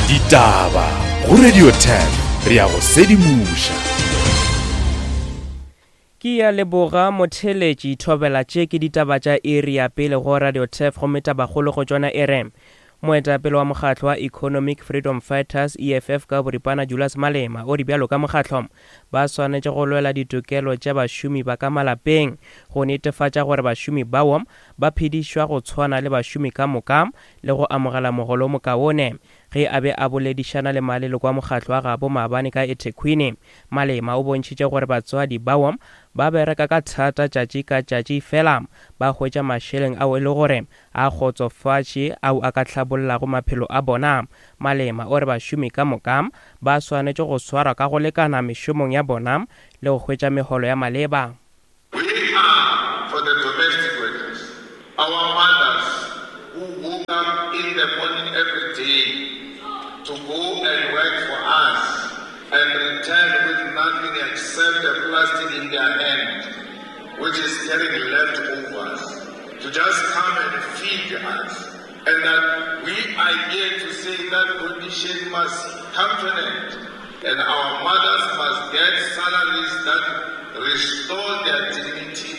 Ditaba go Radio 10 re ya go sedimoša. Ke ya leboga motheeletši Thobela tše ke ditaba tša iri ya pele go Radio Turf gomme tabakgolo go tšona e re Moetapele wa mokgatlo wa Economic Freedom Fighters, EFF, ka boripana Julius Malema o re bjalo ka mokgatlo ba swanetše go lwela ditokelo tša bašomi ba ka malapeng go netefatša gore bašomi bao ba phedišwa go tshwana le bašomi ka moka le go amogela mogolo o mokaone. Ge a be a boledišana le maleloko a mokgatlo wa gabo maabane ka eThekwini, Malema o bontšhitše gore batswadi bao ba bereka ka thata tšatši ka tšatši fela ba hwetša mašeleng ao e le gore a kgotsofatše ao a ka hlabollago maphelo a bona. Malema o re bašomi ka moka ba swanetše go swarwa ka go lekana mešomong ya bona le go hwetša megolo ya maleba. We are for the domestic workers, our mothers who woke up in the morning every day to go and work for us and return with nothing except a plastic in their hand, which is carrying leftovers, to just come and feed us. And that we are here to say that condition must come to an end and our mothers must get salaries that restore their dignity.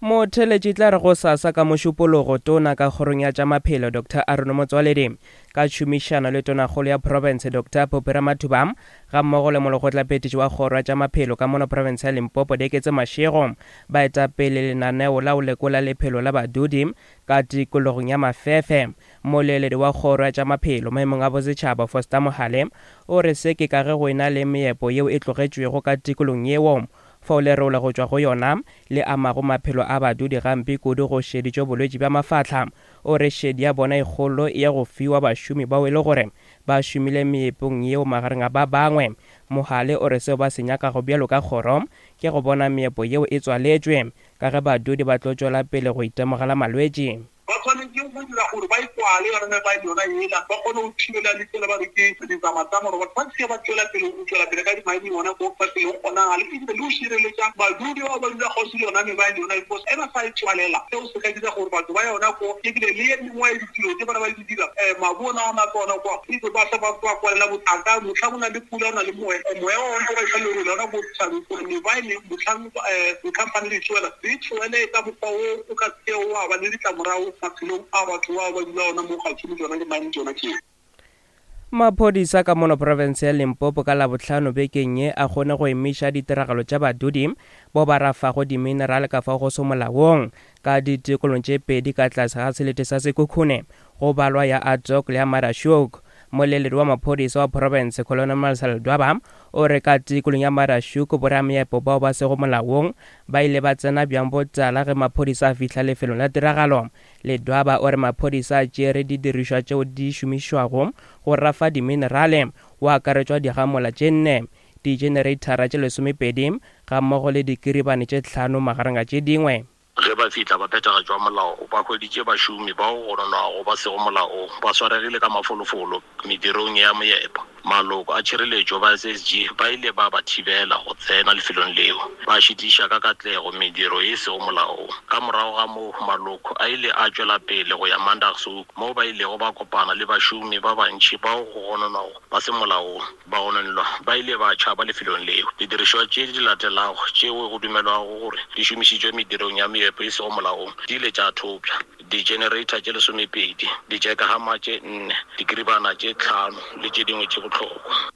Motheeletši tla re gosasa ka Mošupologo, Tona ka Kgorong ya tša Maphelo Doctor Aaron Motsoaledi ka tšhomišano le Tonakgolo ya Profense Doctor Phophi Ramathuba gammogo le Molekgotlaphethiši wa Kgoro ya tša Maphelo ka mono Profense ya Limpopo Deketse Mashego ba eta pele lenaneo la go lekola lephelo la badudi Ka tikologong ya Mafefe, moleeledi wa kgoro ya tša maphelo maemong a bosetšhaba Foster Mohale o re se ke ka ge go ena le meepo yeo e tlogetšwego ka tikolong yeo fao lerole go tšwa go yona le amago maphelo a badudi gampe kudu go šeditšwe bolwetši bja mafahla. O re šedi ya bona e kgolo e ya go fiwa bašomi bao e le gore ba šomile meepong yeo magareng a ba bangwe. Mohale o re seo ba se nyakago bjalo ka kgoro ke go bona meepo yeo e tswaletšwe ka ge badudi ba tlo tšwela pele go itemogela malwetši. Ba swanetše go dira gore ba e kwale yona mebaele yona yela, ba kgone go thibela le tsela ba re ke ditsamatama gore batho ba se ke ba tšwela pele go tšwela pele ka di-mining gona ko fa pele go kgonagale, ebile le go šireletša badudi bao ba dula kgauswi le yona mebaele yona because ge ba sa e tswalela seo se ka dira gore batho ba yona ko ebile le ye mengwe ya ditiro tše ba ne ba di dira mabu ona a matlo ona kwa ebe ba se ba ba kwalela bothata mohlang o na le pula o na le moya moya wa ona o ba iša lerole ona ko thabeng gore mebaele mohlang Dikhamphani di tšwela di tšwele ka mokgwa wo o ka se kego wa ba le ditlamorago maphelong a batho bao ba dula gona mo kgauswi le tšona dimaene tšona tšeo. Maphodisa ka mono profense ya Limpopo ka Labohlano bekeng ye a kgone go emiša ditiragalo tša badudi bao ba rafago diminerale ka fao go se molaong ka ditikolong tše pedi ka tlase ga selete sa Sekhukhune go balwa ya Atok le ya Marashoek. Moleledi wa maphodisa wa profense Colonel Marcel Dwaba o re ka tikolong ya Marashoek borameepo bao ba sego molaong ba ile ba tsena bjang botala ge maphodisa a fihla lefelong la tiragalo. Ledwaba o re maphodisa a tšere didirišwa tšeo di šomišwago go rafa diminerale, go akaretšwa digamola tše nne, dijenereithara tše lesomepedi gammogo le dikiribane tše hlano magareng a tše dingwe. Ge ba fihla ba phethagatšwa molao, ba hweditše bašomi bao go gononwago ba sego molaong ba swaregile ka mafolofolo medirong ya moepo. Maloko a tšhireletšo ba SSG ba ile ba ba thibela go tsena lefelong leo, ba šitiša ka katlego mediro ye e sego molaong. Ka morago ga moo, maloko a ile a tšwela pele go ya Maandagshoek moo ba ilego ba kopana le bašomi ba bantši bao go gononwago ba se molaong. Bagononelwa ba ile ba tšhaba lefelong leo. Didirišwa tše di latelago tšeo go dumelwago gore di šomišitšwe medirong ya meepo e sego molaong di ile tša thopša, di-generator tše lesomepedi, di-jackhammer tše nne, dikiribana tše tlhano le tše dingwe tše bohlokwa.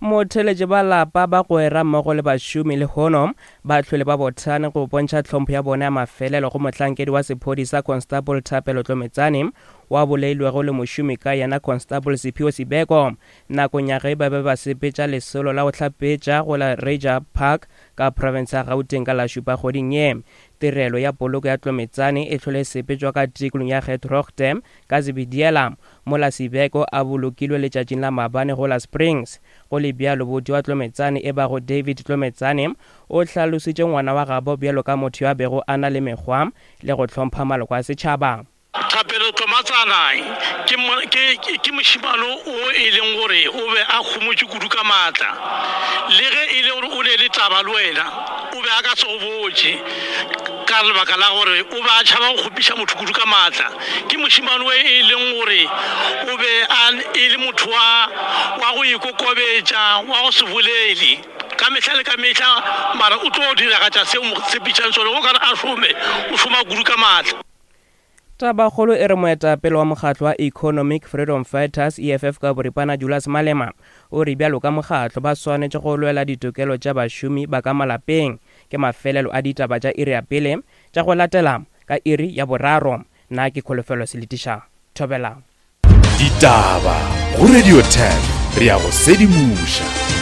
Motheeletši ba lapa, bagwera mmogo le bašomi lehono ba hlwele ba bothane go bontšha tlhompho ya bona ya mafelelo go mohlankedi wa sephodisa Constable Thapelo Tlometsane wa bolailwego le mošomi ka yena Constable Siphiwo Sibeko nakong ya ge ba be ba sepetša lesolo la go hlapetša go la Reiger Park ka profense ya Gauteng ka la šupa kgweding ye. Tirelo ya poloko ya Tlometsane e hlole e sepetšwa ka tikolong ya Getrogte ka Zebediela mola Sibeko a bolokilwe letšatšing la maabane go la Springs. Go le bjalo, buti wa Tlometsane e bago David Tlometsane o hlalositše ngwana wa gabo bjalo ka motho yo a bego a na le mekgwa le go hlompha maloko a setšhaba. Thapelo Tlomatsana ke, ke, ke mošemane o e leng gore o be a homotše kudu ka maatla. Le ge e le gore o ne le taba le wena, o be a ka se go botše. Ka lebaka la gore o be a tšhaba go kgopiša motho kudu ka maatla. Ke mošemane o e leng gore o be a e le motho wa wa go ikokobetša, wa go se bolele ka mehla le ka mehla, mara o tlo diragatša se o mo tshepišang sona. Go ka re a šome, o šoma kudu ka maatla. Tabakgolo e re moetapele wa mokgatlo wa Economic Freedom Fighters, EFF ka boripana, Julius Malema, o re bjalo ka mokgatlo ba swanetše go lwela ditokelo tša bašomi ba ka malapeng. Ke mafelelo a ditaba tša iri ya pele tša go latela ka iri ya boraro. Nna ke Kholofelo Seletiša. Thobela. Ditaba go Radio 10 re a go sedimoša.